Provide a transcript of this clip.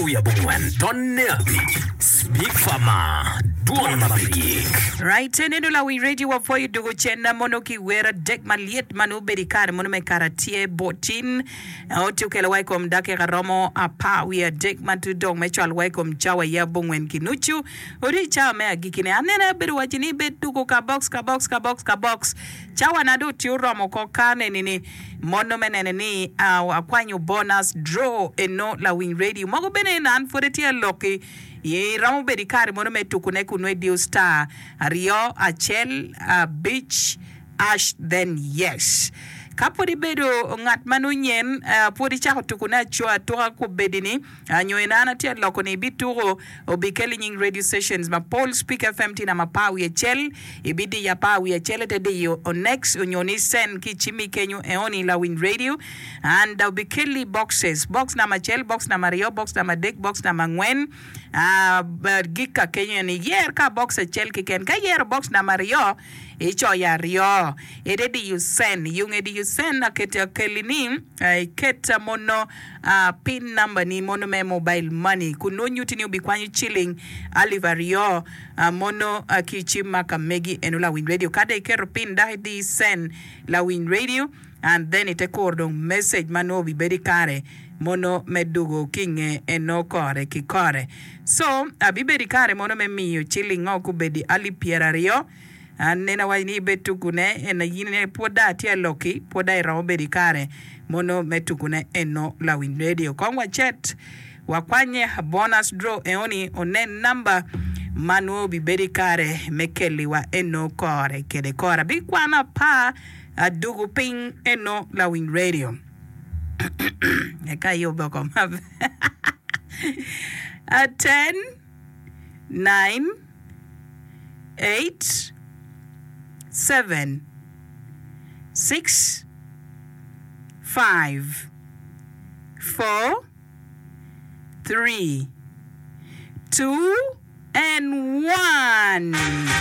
Wiabongwen tonne abic, Speak Farmer, Dwon ma pe gik. Right, eneno lawiny radio wapwoyo dugo cen mono ki wer adek malyet ma nongo obedo i kare mono me karatie botin oti okelo wa i kom dakika romo apar wiye adek ma tye dong me cwalo wa i kom cawa ya abongwen ki nucu odi i cawa me agikine anene abedo waci ni ibed tuko ka box ka box ka box ka box cawa na dong tye oromo oko ka neni ni Mono me nene ni akwanyo bonus draw eno lawiny radio mogo bene en an pwod etye aloki iromo bedo ikare mono me tuku ne kunu idiyo star aryo acel abic ash then yes ka pwod ibedo ngat ma nongo nyen pwod icako tuku ne atuka kubedi ni Nyo en an atye aloko ni ibituko obikeli nying radio stations mapol Speak FM tye namba apar wiye acel ibidiyo apar wiye acel ite diyo next onyo ni send ki icimmi kenyo eoni lawiny radio and obikeli boxes box namba acel box namba aryo box namba adek box namba angwen gik ka kenyo en iyer ka box acel keken ka iyero box namba aryo icoyo aryo ite diyo send yunge diyo send akeli ni iket mono Pin namba ni mono me mobile money kun nongo nyuti ni obikwanyo ciling alip aryo mono ki icim ma ka megi eno lawiny radio ka dong iketo pin dok idi send lawiny radio and then ite kuro dong message ma nongo obibedo ikare mono me dugo ki inge eno kore ki kore so abibedo ikare mono me miyo ciling ngo kubedi alip pyeraryo An awaco ni ibed tukune en aye in pwod dong atye aloki pwod dong iromo bedo ikare mono me tukune eno lawiny radio kong wacet wakwanye bonus draw eoni onen namba ma nwo obibedo ikare me keli wa eno kore kede kore abikwano apar adugu piny eno lawiny radio eka ayube oko maber ten nine eight, seven, 6, 5, 4, 3, 2, and 1.